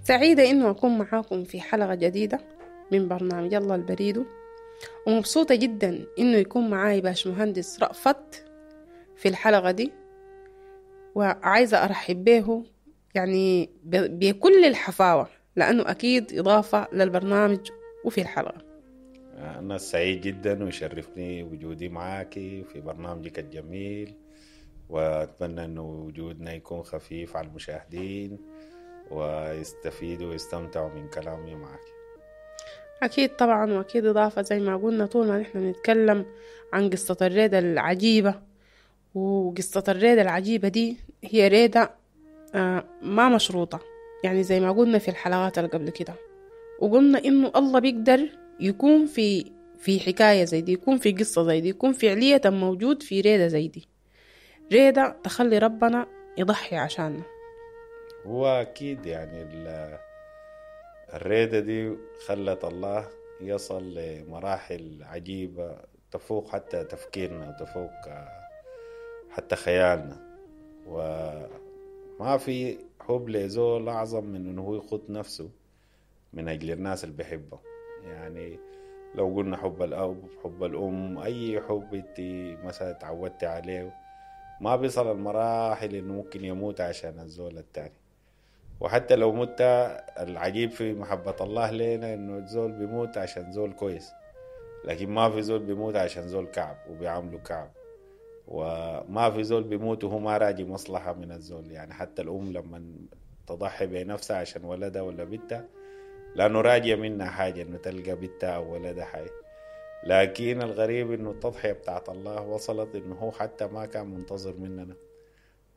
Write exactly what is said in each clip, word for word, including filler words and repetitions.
سعيدة إنه أكون معاكم في حلقة جديدة من برنامج الله البريدو، ومبسوطة جدا إنه يكون معاي باش مهندس رأفت في الحلقة دي، وعايزة أرحب به يعني بكل الحفاوة لأنه أكيد إضافة للبرنامج وفي الحلقة. أنا سعيد جدا ويشرفني وجودي معاك في برنامجك الجميل، وأتمنى أنه وجودنا يكون خفيف على المشاهدين ويستفيدوا ويستمتعوا من كلامي معك. أكيد طبعا، وأكيد إضافة زي ما قلنا طول ما نحن نتكلم عن قصة الريدة العجيبة، وقصة الريدة العجيبة دي هي ريدة آه ما مشروطة، يعني زي ما قلنا في الحلقات اللي قبل كده، وقلنا إنه الله بيقدر يكون في في حكاية زي دي، يكون في قصة زي دي، يكون فعلية موجود في ريدة زي دي، ريدة تخلي ربنا يضحي عشاننا. هو أكيد يعني الريدة دي خلت الله يصل لمراحل عجيبة تفوق حتى تفكيرنا وتفوق حتى خيالنا، وما في حب لزول أعظم من إنه هو يخط نفسه من أجل الناس اللي بيحبه. يعني لو قلنا حب الأب، حب الأم، أي حب أنت مثلا تعودت عليه ما بيصل المراحل إنه ممكن يموت عشان الزول التاني. وحتى لو مت، العجيب في محبة الله لنا إنه الزول بيموت عشان زول كويس، لكن ما في زول بيموت عشان زول كعب وبيعامله كعب، وما في زول بيموت وهو ما راجي مصلحة من الزول. يعني حتى الأم لما تضحي بنفسها عشان ولدها ولا بنتها لأنه راجية منها حاجة إنه تلقى بنتها أو ولدها حي. لكن الغريب إنه التضحية بتاعت الله وصلت إنه هو حتى ما كان منتظر مننا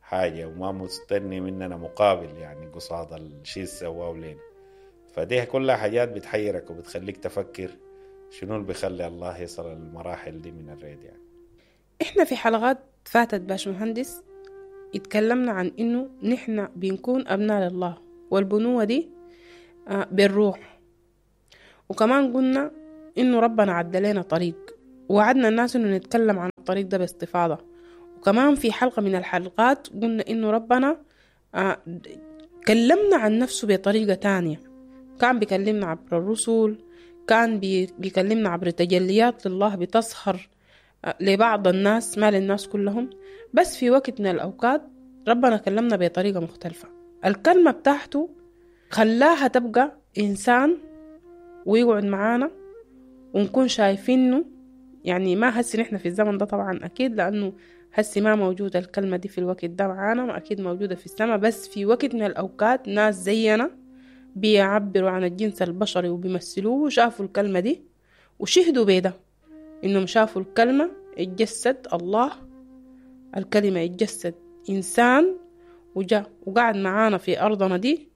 حاجة وما مستني مننا مقابل، يعني قصاد الشيء سواه لنا. فدي كلها حاجات بتحيرك وبتخليك تفكر شنو اللي بيخلي الله يصل المراحل دي من الريد. يعني احنا في حلقات فاتت باش مهندس اتكلمنا عن انه نحن بنكون ابناء لله، والبنوة دي بالروح، وكمان قلنا انه ربنا عد لنا طريق، وعدنا الناس انه نتكلم عن الطريق ده باستفاضة. وكمان في حلقة من الحلقات قلنا إنه ربنا آه كلمنا عن نفسه بطريقة تانية، كان بيكلمنا عبر الرسل، كان بيكلمنا عبر تجليات لله بتظهر آه لبعض الناس ما للناس كلهم، بس في وقت من الأوقات ربنا كلمنا بطريقة مختلفة. الكلمة بتاعته خلاها تبقى إنسان ويقعد معانا ونكون شايفينه. يعني ما هسي نحن في الزمن ده طبعا أكيد، لأنه هسي ما موجودة الكلمة دي في الوقت ده معانا، أكيد موجودة في السماء، بس في وقت من الأوقات ناس زينا بيعبروا عن الجنس البشري وبيمثلوه وشافوا الكلمة دي وشهدوا بيده إنهم شافوا الكلمة اتجسد الله، الكلمة اتجسد إنسان وجاء وقعد معانا في أرضنا دي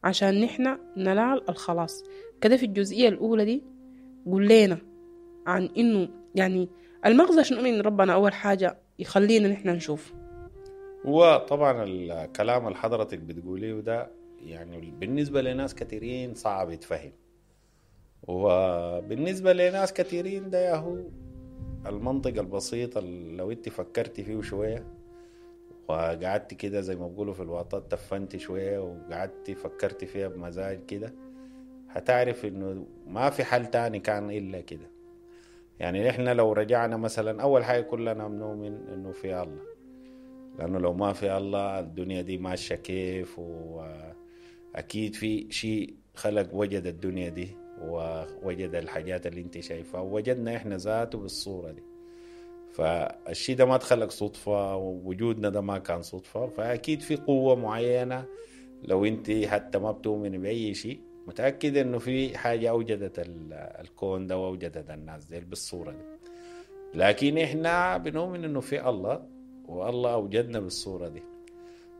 عشان نحن ننال الخلاص. كده في الجزئية الأولى دي قول لنا عن إنه يعني المغزى شنو من ربنا أول حاجة يخلينا نحن نشوف. هو طبعا الكلام اللي حضرتك بتقوليه ده يعني بالنسبة لناس كثيرين صعب يتفهم، وبالنسبة لناس كثيرين ده ياهو المنطق البسيط اللي لو انت فكرتي فيه شوية وقعدت كده زي ما بيقولوا في الواطات تفنتي شوية وقعدتي فكرتي فيها بمزاج كده، هتعرف انه ما في حل تاني كان إلا كده. يعني إحنا لو رجعنا مثلا أول حاجة كلنا بنؤمن إنه في الله، لأنه لو ما في الله الدنيا دي ماشية كيف، وأكيد في شيء خلق وجد الدنيا دي ووجد الحاجات اللي انت شايفها ووجدنا إحنا ذاته بالصورة دي. فالشيء ده ما تخلق صدفة، ووجودنا ده ما كان صدفة، فأكيد في قوة معينة. لو انت حتى ما بتؤمن بأي شيء متأكد إنه في حاجة أوجدت الكون ده وأوجدت الناس دي بالصورة دي. لكن إحنا بنؤمن إنه في الله، والله أوجدنا بالصورة دي.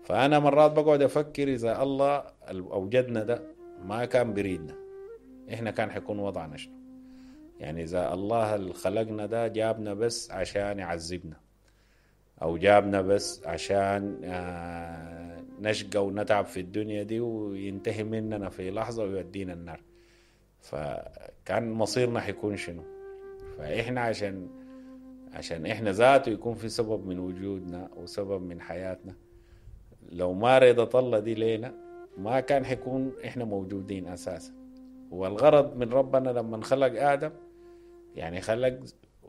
فأنا مرات بقعد أفكر إذا الله أوجدنا ده ما كان بريدنا إحنا كان حيكون وضعنا شنو؟ يعني إذا الله اللي خلقنا ده جابنا بس عشان يعذبنا، أو جابنا بس عشان نشقى ونتعب في الدنيا دي وينتهي مننا في لحظة ويودينا النار، فكان مصيرنا حيكون شنو؟ فإحنا عشان عشان إحنا ذاته يكون في سبب من وجودنا وسبب من حياتنا، لو ما رضت الله دي لينا ما كان حيكون احنا موجودين اساسا. والغرض من ربنا لما خلق ادم، يعني خلق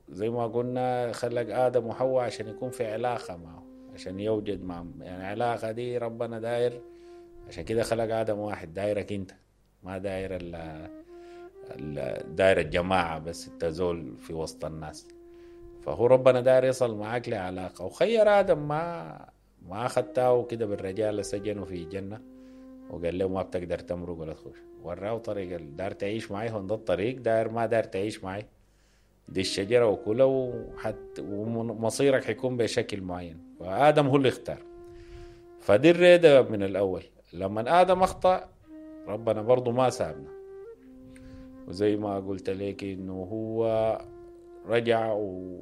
زي ما قلنا خلق ادم وحواء عشان يكون في علاقة معه، عشان يوجد معه، يعني العلاقة دي ربنا داير، عشان كده خلق ادم واحد، دايرك انت، ما داير ال داير الجماعة بس انت زول في وسط الناس. فهو ربنا داير يصل معاك لعلاقة، وخير ادم ما ما اخدته كده بالرجاله، سجنه في جنة وقال له ما بتقدر تمرق ولا تخش، وراه طريق، داير تعيش معي هون ده الطريق، داير ما داير تعيش معي دي الشجرة وكلها، وحت ومصيرك حيكون بشكل معين. فآدم هو اللي اختار، فدي الريدة من الأول. لما آدم أخطأ ربنا برضو ما سابنا، وزي ما قلت لك إنه هو رجع و...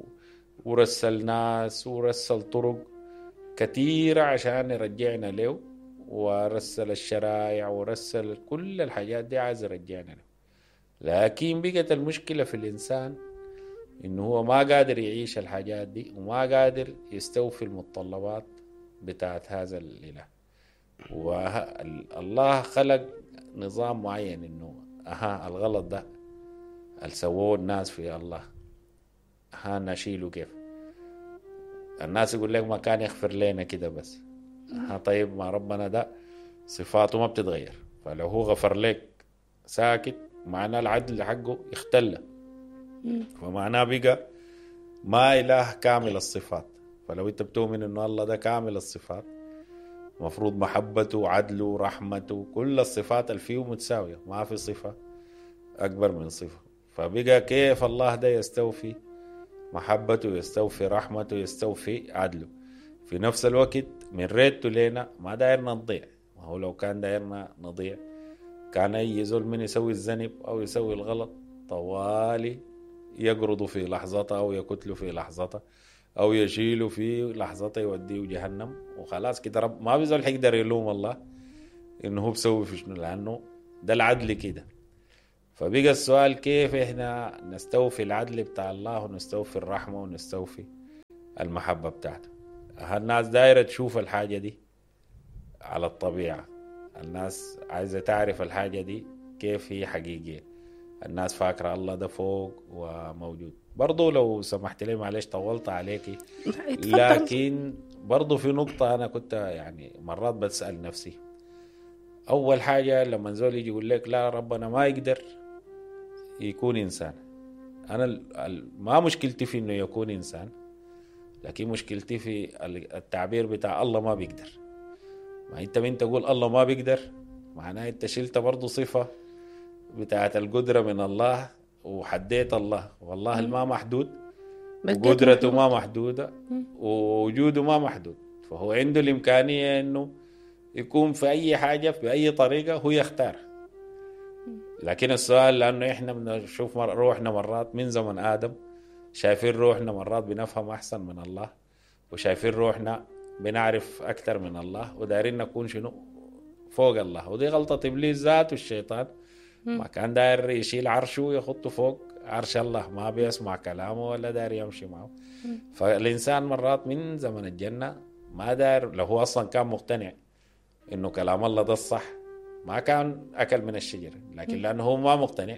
ورسل ناس ورسل طرق كثيرة عشان يرجعنا له، ورسل الشرائع ورسل كل الحاجات دي عايز يرجعنا له. لكن بقت المشكلة في الإنسان إنه هو ما قادر يعيش الحاجات دي، وما قادر يستوفي المتطلبات بتاعت هذا الإله. والله خلق نظام معين إنه أها الغلط ده اللي سووه الناس في الله، ها نشيله كيف؟ الناس يقول لك ما كان يغفر لنا كده بس. ها طيب ما ربنا ده صفاته ما بتتغير، فلو هو غفر لك ساكت معناه العدل حقه اختل، فمعناه بقى ما إله كامل الصفات. فلو انت بتؤمن انه الله ده كامل الصفات، مفروض محبته وعدله ورحمته كل الصفات اللي فيه متساوية، ما في صفة أكبر من صفة. فبقى كيف الله ده يستوفي محبته، يستوفي رحمته، يستوفي عدله في نفس الوقت؟ من ريته لنا ما دايرنا نضيع. ما هو لو كان دايرنا نضيع كان أي زول من يسوي الذنب أو يسوي الغلط طوالي يقرضه في لحظته أو يقتله في لحظته أو يشيله في لحظته يوديه جهنم وخلاص كده. رب ما بيزول حيقدر يلوم الله إنه هو بسوي في شنو، لأنه ده العدل كده. فبقى السؤال كيف إحنا نستوفي العدل بتاع الله ونستوفي الرحمة ونستوفي المحبة بتاعته؟ الناس دايرة تشوف الحاجة دي على الطبيعة، الناس عايزة تعرف الحاجة دي كيف هي حقيقية. الناس فاكرة الله ده فوق وموجود. برضو لو سمحت لي معلش طولت عليكي، لكن برضو في نقطة أنا كنت يعني مرات بتسأل نفسي. أول حاجة لما زول يجي يقول لك لا ربنا ما يقدر يكون إنسان، أنا ما مشكلتي في إنه يكون إنسان، لكن مشكلتي في التعبير بتاع الله ما بيقدر. ما أنت من تقول الله ما بيقدر معناه أنت شلت برضو صفة بتاعت القدرة من الله وحديت الله، والله ما محدود وقدرته ما محدودة ووجوده ما محدود، فهو عنده الإمكانية إنه يكون في أي حاجة في أي طريقة هو يختار. لكن السؤال لأنه إحنا بنشوف روحنا مرات من زمن آدم، شايفين روحنا مرات بنفهم أحسن من الله، وشايفين روحنا بنعرف أكثر من الله، ودارين نكون شنو فوق الله. ودي غلطة إبليس ذاته الشيطان، ما كان داير يشيل عرشه ويخطه فوق عرش الله، ما بيسمع كلامه ولا داير يمشي معه. فالإنسان مرات من زمن الجنة ما داير، لو هو أصلا كان مقتنع إنه كلام الله ده الصح ما كان أكل من الشجرة، لكن لأنه هو ما مقتنع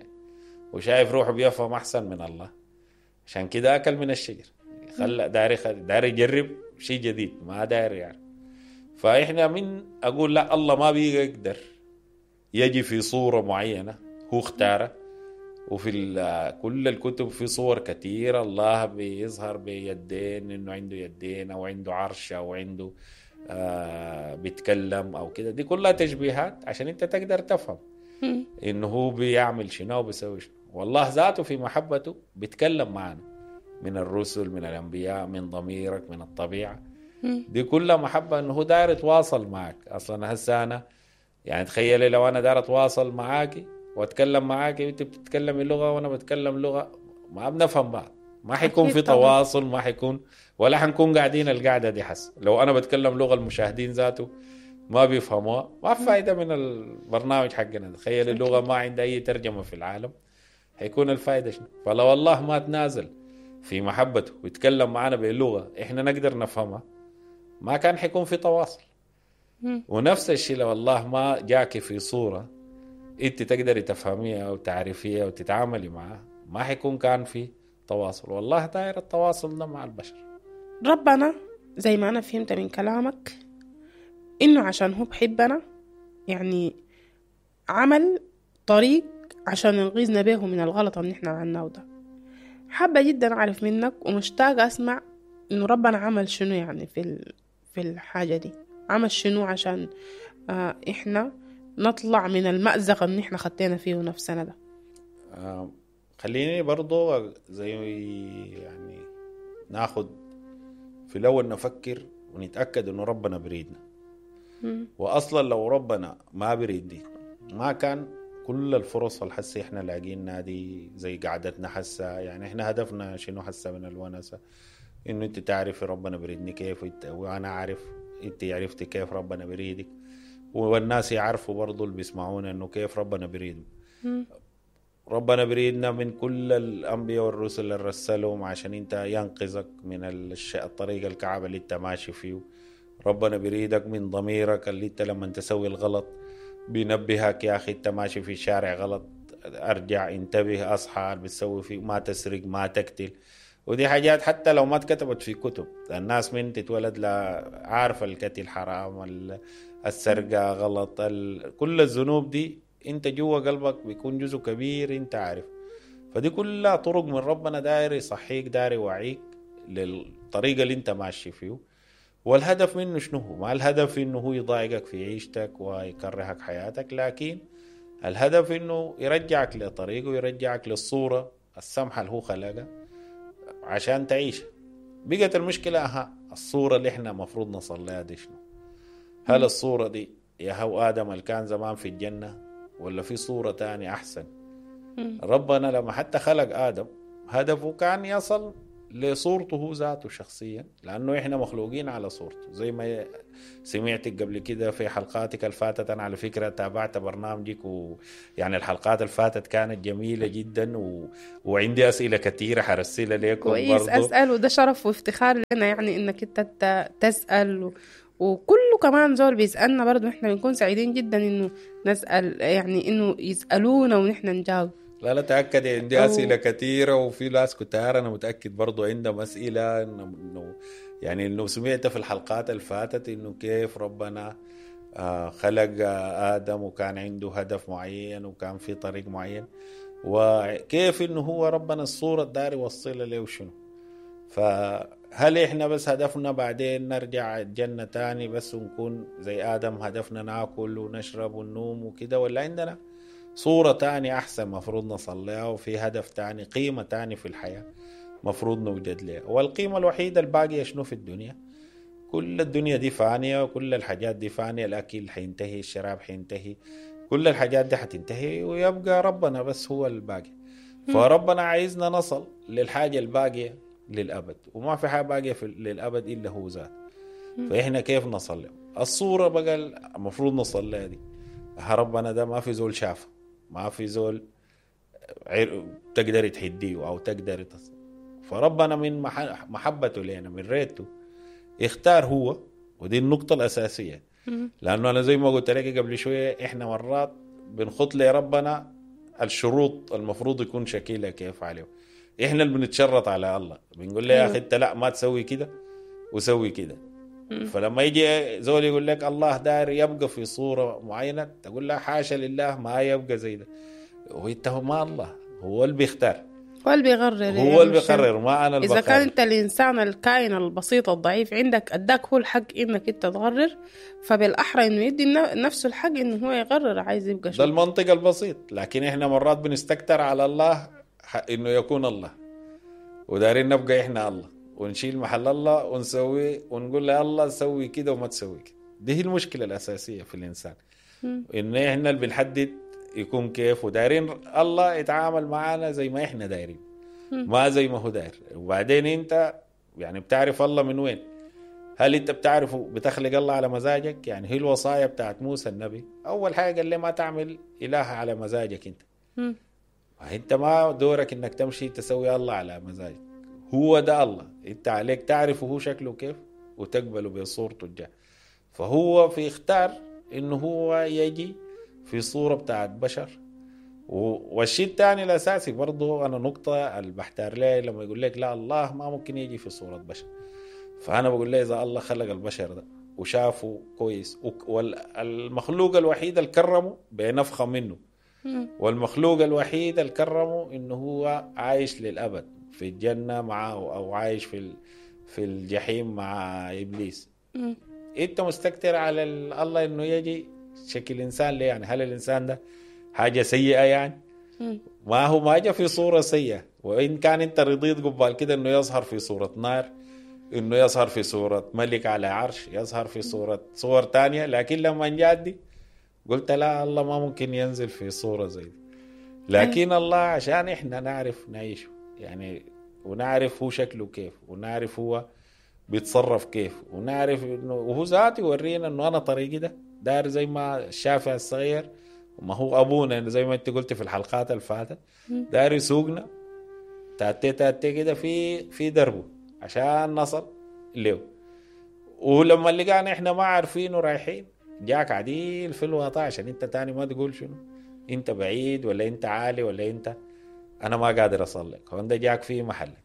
وشايف روحه بيفهم أحسن من الله، عشان كده أكل من الشجر. خلى داير داير يجرب شيء جديد، ما داير يعني. فإحنا من أقول لا الله ما بيقدر يجي في صورة معينة هو اختاره، وفي كل الكتب في صور كثيرة الله بيظهر بيدين، إنه عنده يدين أو عنده عرش أو عنده آه بيتكلم أو كده. دي كلها تشبيهات عشان أنت تقدر تفهم إنه هو بيعمل شنو وبيسوي شنو. والله ذاته في محبته بيتكلم معنا من الرسل، من الأنبياء، من ضميرك، من الطبيعة. دي كلها محبة إنه هو داير يتواصل معك. أصلا هسه أنا يعني تخيلي لو أنا داير أتواصل معاكي وأتكلم معاكي، وأنت بتتكلمي لغة وأنا بتكلم لغة، ما بنفهم بعض، ما حيكون في تواصل، ما حيكون ولا حنكون قاعدين القعدة دي. حس لو أنا بتكلم لغة المشاهدين ذاته ما بيفهموها، ما في فايدة من البرنامج حقنا. تخيل اللغة ما عندها أي ترجمة في العالم، حيكون الفايدة شنو؟ فلو الله ما تنازل في محبته ويتكلم معنا بلغة إحنا نقدر نفهمها، ما كان حيكون في تواصل. ونفس الشيء لو الله ما جاك في صورة انت تقدري تفهميها وتعرفيها وتتعاملي معها، ما حيكون كان في تواصل. والله داير التواصل ده مع البشر. ربنا زي ما أنا فهمت من كلامك إنه عشان هو بحبنا يعني عمل طريق عشان ينقذنا به من الغلط اللي نحن عملناه ده. حابة جدا أعرف منك ومشتاقة أسمع إنه ربنا عمل شنو يعني في في الحاجة دي، عمل شنو عشان آه إحنا نطلع من المأزق اللي نحن خطينا فيه نفسنا ده. آه خليني برضو زي يعني ناخد في الأول نفكر ونتأكد إنه ربنا بريدنا. م. وأصلا لو ربنا ما بريدني ما كان كل الفرص الحسي إحنا لاقينا دي زي قعدتنا حسة. يعني إحنا هدفنا شنو حسة من الونسة؟ إنه أنت تعرفي ربنا بريدني كيف، وأنا أعرف أنت عرفتي كيف ربنا بريدك، والناس يعرفوا برضو اللي بيسمعونا إنه كيف ربنا بريدهم. ربنا بريدنا من كل الأنبياء والرسل اللي رسلهم عشان أنت ينقذك من الطريق الكعبة اللي أنت ماشي فيه. ربنا بريدك من ضميرك اللي أنت لما تسوي الغلط بينبهك يا أخي أنت ماشي في شارع غلط، أرجع، انتبه، أصحى، بتسوي فيه، ما تسرق، ما تقتل. ودي حاجات حتى لو ما اتكتبت في كتب، الناس من تتولد لا عارفة القتل حرام، السرقة غلط، كل الذنوب دي انت جوا قلبك بيكون جزء كبير انت عارف. فدي كلها طرق من ربنا داير يصحيك، داير يوعيك للطريقة اللي انت ماشي فيه. والهدف منه شنو هو؟ ما الهدف انه هو يضايقك في عيشتك ويكرهك حياتك، لكن الهدف انه يرجعك لطريقه ويرجعك للصورة السمحة اللي هو خلقها عشان تعيش. بقت المشكلة أها الصورة اللي احنا مفروض نصل لها دي شنو؟ هل الصورة دي يا هو آدم اللي كان زمان في الجنة، ولا في صورة تانية أحسن؟ ربنا لما حتى خلق آدم هدفه كان يصل لصورته هو ذاته شخصيا، لأنه إحنا مخلوقين على صورته. زي ما سمعتك قبل كده في حلقاتك الفاتت، أنا على فكرة تابعت برنامجك، ويعني الحلقات الفاتت كانت جميلة جدا و... وعندي أسئلة كثيرة حرسلها لكم. كويس، أسأل، وده شرف وافتخار لنا يعني إنك أنت تسأل و... وكله كمان زول بيسألنا برضو، إحنا بنكون سعيدين جدا إنه نسأل، يعني إنه يسألونا ونحن نجاوب. لا لا تأكد عندي أسئلة كثيرة، وفي ناس كتار أنا متأكد برضو عندهم أسئلة إنه يعني إنه سمعت في الحلقات الفاتت إنه كيف ربنا خلق آدم وكان عنده هدف معين وكان في طريق معين، وكيف إنه هو ربنا الصورة الداري يوصلها له وشنو. فهل إحنا بس هدفنا بعدين نرجع الجنة تاني بس ونكون زي آدم، هدفنا ناكل ونشرب وننوم وكده، ولا عندنا صورة تاني أحسن مفروض نصليها، وفي هدف تاني، قيمة تاني في الحياة مفروض نوجد لها؟ والقيمة الوحيدة الباقية شنو في الدنيا؟ كل الدنيا دي فانية، وكل الحاجات دي فانية، الأكل حينتهي، الشراب حينتهي، كل الحاجات دي حتنتهي، ويبقى ربنا بس هو الباقي. فربنا عايزنا نصل للحاجة الباقية للأبد، وما في حاجة باقية في للأبد إلا هو ذات. فإحنا كيف نصل له؟ الصورة بقى المفروض نصل لها دي، ربنا ده ما في زول شافه، ما في زول تقدر تحديه أو تقدر تصل. فربنا من محبته لنا، من ريته، اختار هو، ودي النقطة الأساسية. لأنه أنا زي ما قلت لك قبل شوية، إحنا مرات بنخط لربنا الشروط المفروض يكون شكلها كيف عليه. إحنا اللي بنتشرط على الله، بنقول له يا أخي أنت لا ما تسوي كده وسوي كده. فلما يجي زول يقول لك الله داير يبقى في صورة معينة، تقول له حاشا لله ما يبقى زي ده. وانت ما الله هو اللي بيختار، هو اللي بيقرر، هو اللي بيقرر، ما أنا اللي إذا كان أنت الإنسان الكائن البسيط الضعيف عندك أداك هو الحق إنك أنت تقرر، فبالأحرى إنه يدي نفسه الحق إنه هو يقرر عايز يبقى شو. ده المنطق البسيط. لكن إحنا مرات بنستكتر على الله إنه يكون الله، ودارين نبقى إحنا الله، ونشيل محل الله ونسوي ونقول له الله سوي كده وما تسوي كده. دي هي المشكلة الأساسية في الإنسان، إن إحنا اللي بنحدد يكون كيف، ودايرين الله يتعامل معنا زي ما إحنا دايرين، ما زي ما هو داير. وبعدين أنت يعني بتعرف الله من وين؟ هل أنت بتعرفه بتخلق الله على مزاجك؟ يعني هي الوصايا بتاعت موسى النبي، أول حاجة قال لي ما تعمل إله على مزاجك أنت. م. أنت ما دورك إنك تمشي تسوي الله على مزاجك، هو ده الله، انت عليك تعرفه هو شكله كيف وتقبله بصورته الجاية. فهو في اختار انه هو يجي في صورة بتاعت بشر. والشيء الثاني الاساسي برضو انا نقطة اللي بحتار لها لما يقول لك لا الله ما ممكن يجي في صورة بشر، فانا بقول له اذا الله خلق البشر ده وشافه كويس، والمخلوق الوحيد اللي كرمه بنفخة منه، والمخلوق الوحيد اللي كرمه انه هو عايش للابد في الجنة معه او عايش في في الجحيم مع ابليس، انت مستكتر على الله انه يجي شكل انسان ليه؟ يعني هل الانسان ده حاجة سيئه يعني؟ ما هو ما جاء في صوره سيئه، وان كان انت رضيت قبال كده انه يظهر في صوره نار، انه يظهر في صوره ملك على عرش، يظهر في صوره صور تانية، لكن لما جاء دي قلت لا الله ما ممكن ينزل في صوره زي دي. لكن الله عشان احنا نعرف نعيشه يعني، ونعرف هو شكله كيف، ونعرف هو بيتصرف كيف، ونعرف انه وهو ذاته يورينا انه انا طريقي ده دار زي ما الشافع الصغير، وما هو ابونا زي ما انت قلت في الحلقات اللي فاتت، دار يسوقنا تاتي تاتي كده في في دربه عشان نصل له. ولما لقانا احنا ما عارفين ورايحين جاك عديل في الوطا عشان انت تاني ما تقول شنو انت بعيد ولا انت عالي ولا انت انا ما قادر اصل لك، هو ده جاك في محلك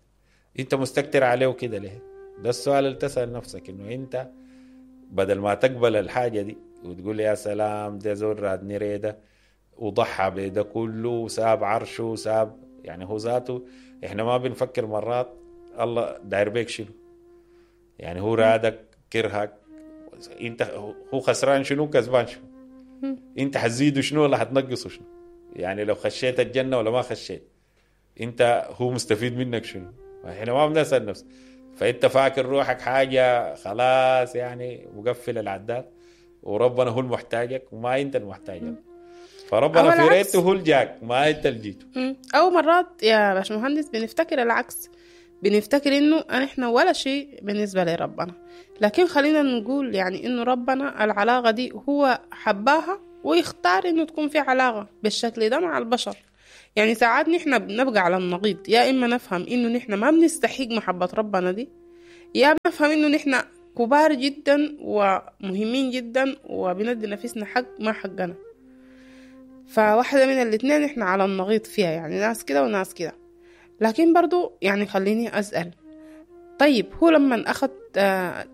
انت مستكتر عليه كده ليه؟ ده السؤال اللي تسأل نفسك، انه انت بدل ما تقبل الحاجة دي وتقول يا سلام ده زول رادني ريده وضحى بده كله وساب عرشه وساب، يعني هو ذاته احنا ما بنفكر مرات الله داير بيك شنو، يعني هو رادك كرهك، انت هو خسران شنو كسبان شنو، انت حتزيده شنو ولا حتنقصه شنو، يعني لو خشيت الجنة ولا ما خشيت انت هو مستفيد منك شنو؟ احنا ما بنسأل نفسك. فانت فاكر روحك حاجة خلاص يعني مقفل العداد وربنا هو المحتاجك وما انت المحتاجك، فربنا في ريته هو الجاك ما انت اللي جيته. او مرات يا باشمهندس بنفتكر العكس، بنفتكر انه احنا ولا شيء بالنسبة لربنا، لكن خلينا نقول يعني انه ربنا العلاقة دي هو حباها ويختار انه تكون في علاقة بالشكل ده مع البشر. يعني ساعات نحن بنبقى على النقيض، يا إما نفهم إنه نحن ما بنستحق محبة ربنا دي، يا بنفهم إنه نحن كبار جدا ومهمين جدا وبندي نفسنا حق ما حقنا. فواحدة من الاثنين نحن على النقيض فيها، يعني ناس كده وناس كده. لكن برضو يعني خليني أسأل، طيب هو لما أخذ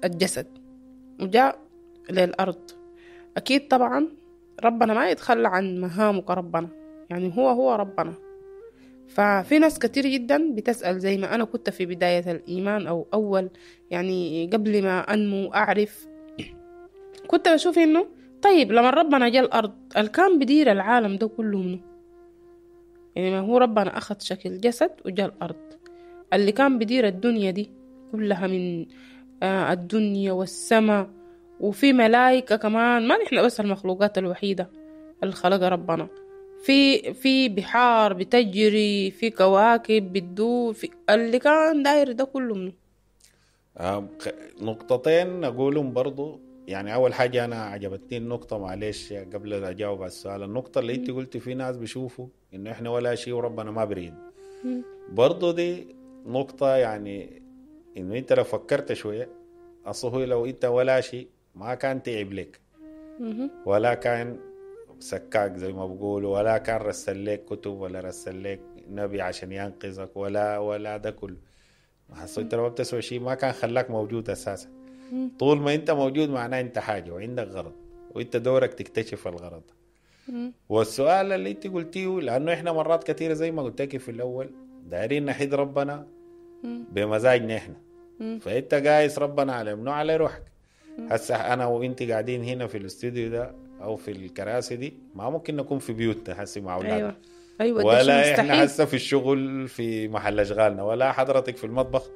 الجسد وجاء للأرض أكيد طبعا ربنا ما يتخلى عن مهامه كربنا، يعني هو هو ربنا. ففي ناس كتير جدا بتسأل زي ما أنا كنت في بداية الإيمان أو أول يعني قبل ما أنمو أعرف، كنت بشوف إنه طيب لما ربنا جاء الأرض الكان بدير العالم ده كله منه، يعني ما هو ربنا أخذ شكل جسد وجاء الأرض، اللي كان بدير الدنيا دي كلها من الدنيا والسماء، وفي ملائكة كمان، ما نحن بس المخلوقات الوحيدة اللي خلقها ربنا، في في بحار بتجري، في كواكب بتدور، في اللي كان داير ده كله منه. آه نقطتين أقولهم برضو، يعني أول حاجة أنا عجبتني النقطة، معلش قبل أن أجاوب على السؤال، النقطة اللي أنت قلتي في ناس بيشوفوا إنه إحنا ولا شيء وربنا ما بريد، برضو دي نقطة يعني إنه أنت لو فكرت شوية أصله لو أنت ولا شيء ما كان تعب لك ولا كان سكاك زي ما بقولوا، ولا كان رسل لك كتب ولا رسل لك نبي عشان ينقذك ولا ولا ده كله، حسيت لو بتسوي شيء ما كان خلاك موجود اساسا. طول ما انت موجود معناه انت حاجة وعندك غرض، وانت دورك تكتشف الغرض. والسؤال اللي انت قلتيه، لانه احنا مرات كثيرة زي ما قلت لك في الاول دايرين نحيد ربنا بمزاجنا احنا، فانت قايس ربنا على منو؟ على روحك. هسه انا وانت قاعدين هنا في الاستوديو ده او في الكراسي دي ما ممكن نكون في بيوتنا هسه مع اولادنا. ايوه ايوه، ولا احنا هسه في الشغل في محل اشغالنا، ولا حضرتك في المطبخ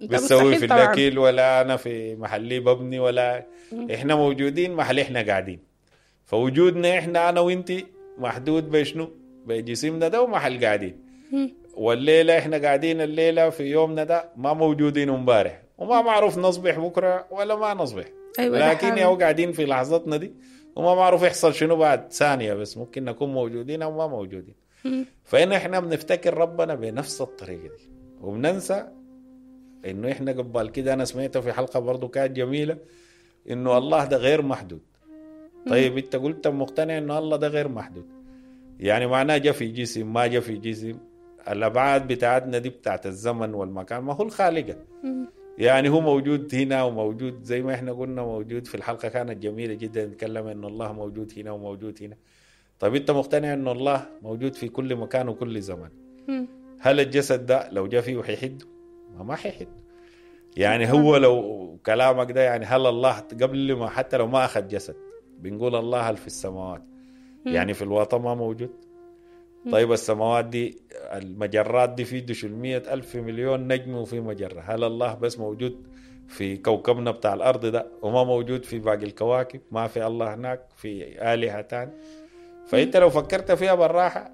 بتسوي في الاكل، ولا انا في محلي ببني، ولا احنا موجودين محل احنا قاعدين. فوجودنا احنا انا وانت محدود بشنو؟ بجسمنا ده ومحل قاعدين. والليلة احنا قاعدين الليلة في يومنا ده ما موجودين امبارح، وما معروف نصبح بكره ولا ما نصبح. أيوة، لكن يا قاعدين في لحظتنا دي وما معروف يحصل شنو بعد ثانية، بس ممكن نكون موجودين أو ما موجودين. فإن إحنا بنفتكر ربنا بنفس الطريقة دي وبننسى إنه إحنا قبل كده. أنا سمعته في حلقة برضو كانت جميلة، انه الله ده غير محدود. طيب انت قلت مقتنع انه الله ده غير محدود، يعني معناه جا في جسم ما جا في جسم، الابعاد بتاعتنا دي بتاعت الزمن والمكان ما هو الخالقه. يعني هو موجود هنا وموجود زي ما احنا قلنا موجود في الحلقة كانت جميلة جدا، نتكلم انه الله موجود هنا وموجود هنا. طيب انت مقتنع انه الله موجود في كل مكان وكل زمان، هل الجسد ده لو جا فيه حيحده؟ ما ما حيحد. يعني هو لو كلامك ده يعني هل الله قبل ما حتى لو ما اخذ جسد بنقول الله هل في السماوات، يعني في الوطن ما موجود؟ طيب السماوات دي المجرات دي في دشمية ألف مليون نجم وفي مجرة، هل الله بس موجود في كوكبنا بتاع الأرض ده وما موجود في باقي الكواكب؟ ما في الله هناك، في آلهة تاني؟ فأنت لو فكرت فيها بالراحة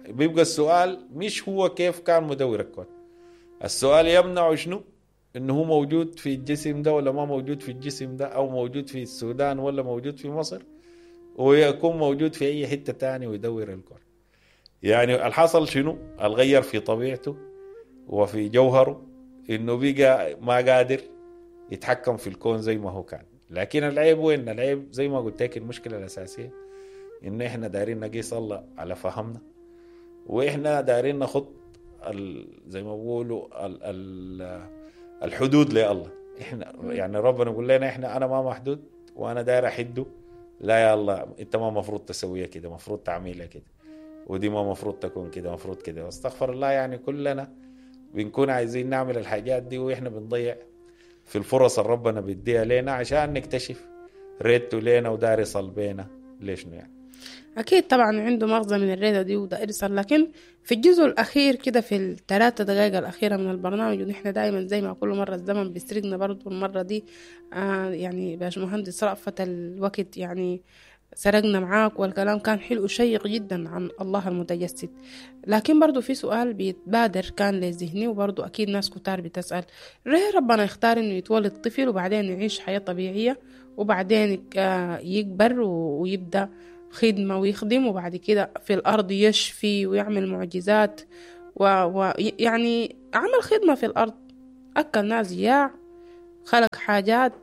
بيبقى السؤال مش هو كيف كان مدور الكون، السؤال يمنع شنو؟ إنه هو موجود في الجسم ده ولا ما موجود في الجسم ده، أو موجود في السودان ولا موجود في مصر، ويكون موجود في أي حتة تاني ويدور الكون. يعني الحصل شنو؟ الغير في طبيعته وفي جوهره إنه بقى ما قادر يتحكم في الكون زي ما هو كان. لكن العيب وين؟ العيب زي ما قلت لك المشكلة الأساسية إن إحنا دايرين نقيس الله على فهمنا، وإحنا دايرين نخط زي ما بيقولوا ال ال الحدود لله. إحنا يعني ربنا يقول لنا إحنا أنا ما محدود وأنا داير أحده، لا يا الله أنت ما مفروض تسويها كده، مفروض تعملها كده، ودي ما مفروض تكون كده، مفروض كده. واستغفر الله، يعني كلنا بنكون عايزين نعمل الحاجات دي وإحنا بنضيع في الفرص اللي ربنا بيديها لنا عشان نكتشف ريته لنا ودار يصل بينا ليش يعني. أكيد طبعا عنده مغزى من الريدة دي وده إرسال. لكن في الجزء الأخير كده في الثلاثة دقائق الأخيرة من البرنامج، ونحن دائما زي ما كل مرة الزمن بيسرقنا، برضو المرة دي آه يعني باش مهندس رأفت الوقت يعني سرقنا معاك، والكلام كان حلو وشيق جدا عن الله المتجسد. لكن برضو في سؤال بيتبادر كان لذهني، وبرضو أكيد ناس كتار بتسأل، ليه ربنا يختار إنه يتولد طفل وبعدين يعيش حياة طبيعية وبعدين يكبر ويبدأ خدمة ويخدم، وبعد كده في الأرض يشفي ويعمل معجزات ويعني عمل خدمة في الأرض، أكل ناس جياع، خلق حاجات،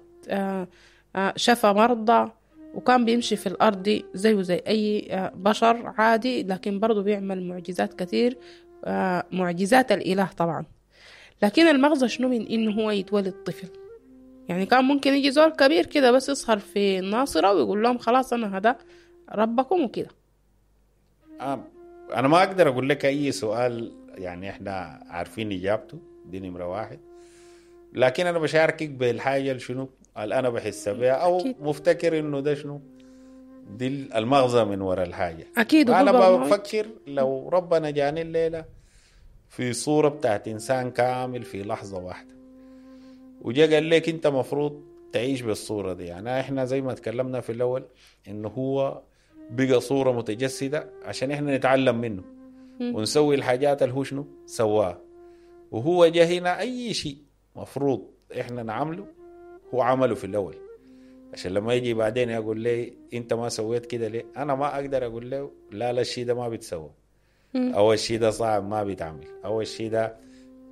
شفى مرضى، وكان بيمشي في الأرض دي زيه زي أي بشر عادي، لكن برضو بيعمل معجزات كثير، معجزات الإله طبعا. لكن المغزى شنو من إنه هو يتولد طفل؟ يعني كان ممكن يجي زول كبير كده بس يظهر في الناصرة ويقول لهم خلاص أنا هذا ربكم وكده. أنا ما أقدر أقول لك أي سؤال يعني إحنا عارفين إجابته، دي نمرة واحد. لكن أنا بشاركك بالحاجة شنو اللي أنا بحس بها أو أكيد. مفتكر إنه ده شنو دي المغزى من وراء الحاجة. أكيد. أنا بفكر لو ربنا جاني الليلة في صورة بتاعت إنسان كامل في لحظة واحدة وجا قال لك أنت مفروض تعيش بالصورة دي، يعني إحنا زي ما تكلمنا في الأول إنه هو بقى صورة متجسدة عشان إحنا نتعلم منه ونسوي الحاجات اللي هو شنو سواها، وهو جا هنا أي شيء مفروض إحنا نعمله هو عمله في الأول، عشان لما يجي بعدين يقول لي أنت ما سويت كده ليه، أنا ما أقدر أقول له لا لا الشيء ده ما بيتسوى، أو الشيء ده صعب ما بيتعمل، أو الشيء ده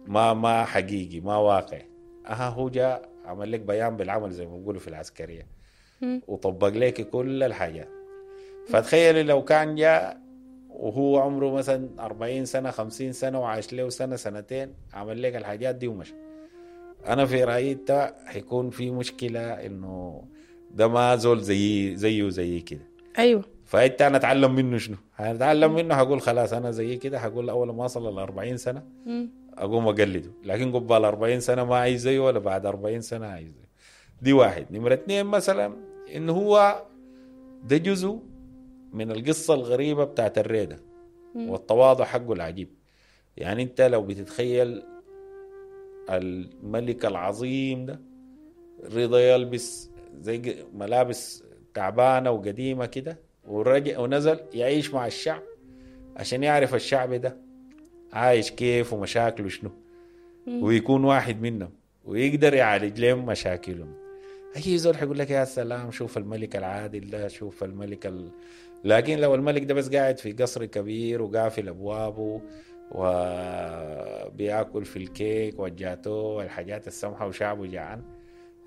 ما ما حقيقي ما واقع. أها هو جاء عمل لك بيان بالعمل زي ما بيقولوا في العسكرية وطبق لك كل الحاجات. فتخيلي لو كان جاء وهو عمره مثلا أربعين سنة خمسين سنة وعاش له سنة سنتين عمل لك الحاجات دي ومشى، أنا في رأيي ده حيكون في مشكلة إنه ده ما زول زي زيه زي كده. أيوة. فأنت أنا أتعلم منه شنو؟ هتعلم منه هقول خلاص أنا زي كده، هقول أول ما أصل الأربعين سنة أقوم أقلده، لكن قبل أربعين سنة ما عايز زيه ولا بعد أربعين سنة عايز زيه. دي واحد. نمرة اثنين مثلا إنه هو ده جزء من القصة الغريبة بتاعت الريدة والتواضع حقه العجيب. يعني أنت لو بتتخيل الملك العظيم ده رضا يلبس زي ملابس تعبانة وقديمة كده ورجع ونزل يعيش مع الشعب عشان يعرف الشعب ده عايش كيف ومشاكله شنو، ويكون واحد منهم ويقدر يعالج لهم مشاكلهم. أي زول حيقول لك يا سلام شوف الملك العادل ده، شوف الملك ال... لكن لو الملك ده بس قاعد في قصر كبير وقافل أبوابه وبياكل في الكيك والجاتو والحاجات السمحة وشعبه جعان،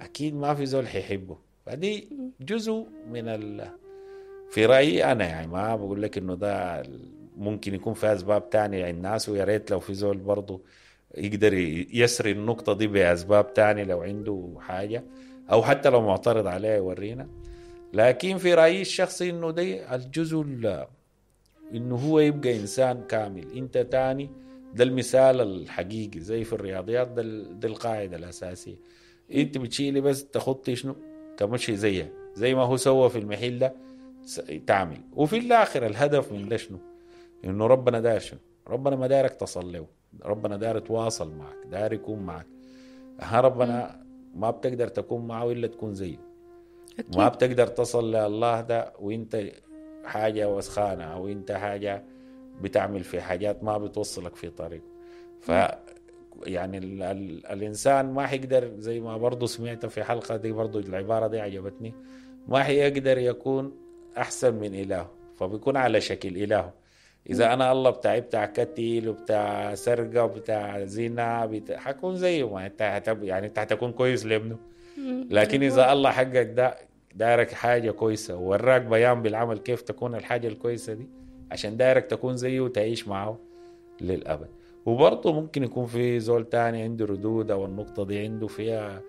أكيد ما في زول حيحبه. فدي جزء من ال... في رأيي أنا، يعني ما بقول لك إنه ده ممكن يكون في أسباب تانية عند الناس، ويا ريت لو في زول برضو يقدر يسري النقطة دي بأسباب تانية لو عنده حاجة، أو حتى لو معترض عليها يورينا. لكن في رأيي الشخصي إنه ده الجزء إنه هو يبقى إنسان كامل. أنت تاني ده المثال الحقيقي زي في الرياضيات، ده, ده القاعدة الأساسية. أنت بتشيلي بس تخطي شنو تمشي زيها زي ما هو سوى في المحل ده تعمل. وفي الآخر الهدف من ده شنو؟ إنه ربنا داير شنو؟ ربنا ما دايرك تصل له، ربنا داير يتواصل معك، داير يكون معك. ها ربنا ما بتقدر تكون معه إلا تكون زيه. أكيد. ما بتقدر تصل لله ده وانت حاجة وسخانة، أو انت حاجة بتعمل في حاجات ما بتوصلك في طريق. ف يعني ال ال الإنسان ما حيقدر، زي ما برضو سمعت في حلقة دي برضو العبارة دي عجبتني، ما حيقدر يكون أحسن من إلهه، فبيكون على شكل إلهه. إذا أنا الله بتاعي بتاع كتيل وبتاع سرقة وبتاع زنا بتاع، حكون زيه، ما أنت هتب... يعني أنت هتكون كويس لابنه. لكن إذا الله حقك ده دارك حاجة كويسة ووراك بيان بالعمل كيف تكون الحاجة الكويسة دي، عشان دارك تكون زيه وتعيش معه للأبد. وبرضه ممكن يكون في زول تاني عنده ردود أو النقطة دي عنده فيها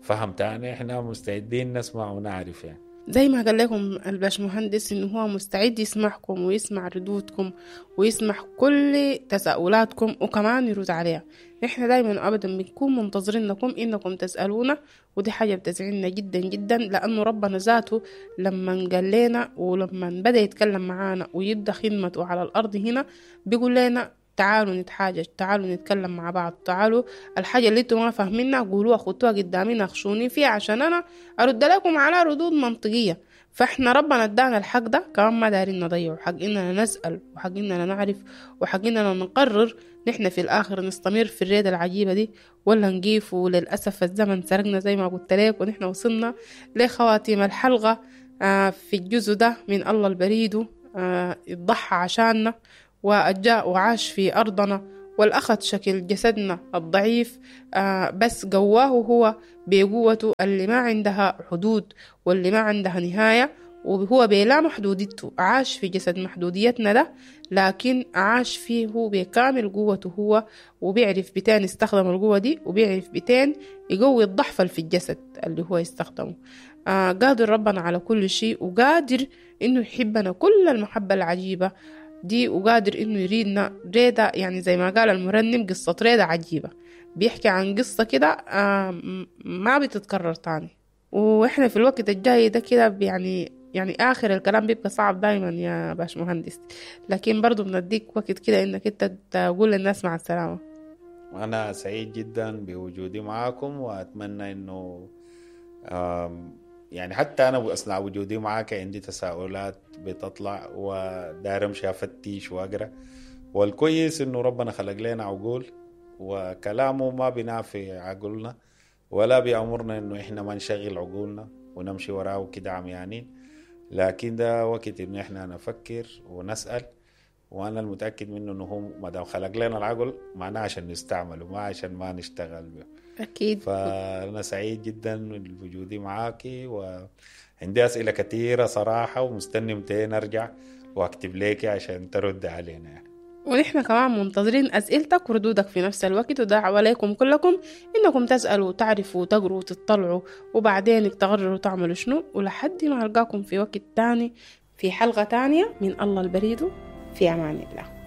فهم تاني، إحنا مستعدين نسمع ونعرف. يعني زي ما قال لكم الباشمهندس إنه هو مستعد يسمعكم ويسمع ردودكم ويسمع كل تساؤلاتكم وكمان يرد عليها. نحن دايما أبدا بنكون منتظرينكم إنكم تسألونا، ودي حاجة بتسعدنا جدا جدا، لأنه ربنا ذاته لما قال لنا ولما بدأ يتكلم معانا ويبدأ خدمته على الأرض هنا بيقول لنا تعالوا نتحاجج، تعالوا نتكلم مع بعض، تعالوا الحاجة اللي انتوا ما فاهمينها قولوها، خدوها قدامي ناقشوني فيها عشان أنا أرد لكم على ردود منطقية. فإحنا ربنا ادانا الحق ده، كمان ما دارين نضيعه، حق إننا نسأل وحق إننا نعرف وحق إننا نقرر نحن في الآخر نستمر في الريدة العجيبة دي ولا نقيف. وللأسف الزمن سرقنا زي ما قلت لك، ونحن وصلنا لخواتيم الحلقة في الجزء ده من الله البريد اتضحى عشاننا وجاء وعاش في أرضنا والأخذ شكل جسدنا الضعيف، بس قواه هو بقوته اللي ما عندها حدود واللي ما عندها نهاية، وهو بلا محدوديته عاش في جسد محدوديتنا ده، لكن عاش فيه بكامل قوته هو، وبيعرف بتين يستخدم القوة دي، وبيعرف بتين يقوي الضعف في الجسد اللي هو يستخدمه. آه قادر ربنا على كل شيء، وقادر إنه يحبنا كل المحبة العجيبة دي، وقادر إنه يريدنا ريدة، يعني زي ما قال المرنم قصة ريدة عجيبة، بيحكي عن قصة كده آه ما بتتكرر تاني. وإحنا في الوقت الجاي ده كده يعني يعني آخر الكلام بيبقى صعب دايما يا باش مهندس، لكن برضو بنديك وقت كده إنك أنت تقول للناس مع السلامة. أنا سعيد جدا بوجودي معاكم، وأتمنى إنه يعني حتى أنا أثناء وجودي معاك عندي تساؤلات بتطلع وداير أمشي أفتش وأقرأ، والكويس إنه ربنا خلق لنا عقول وكلامه ما بينافي عقولنا ولا بيأمرنا إنه إحنا ما نشغل عقولنا ونمشي وراه كده عميانين، لكن ده وقت إن إحنا نفكر ونسأل. وأنا المتأكد منه إنه هو ما دام خلق لنا العقل معناه عشان نستعمله ما عشان ما نشتغل به. أكيد. فأنا سعيد جدا بوجودي معاكي، وعندي أسئلة كثيرة صراحة ومستني متى نرجع وأكتب لك عشان ترد علينا يعني. ونحن كمان منتظرين أسئلتك وردودك في نفس الوقت، ودعوة لكم كلكم إنكم تسألوا وتعرفوا وتقروا وتطلعوا وبعدين تقرروا تعملوا شنو. ولحد ما ألقاكم في وقت تاني في حلقة تانية من الله البريد، في أمان الله.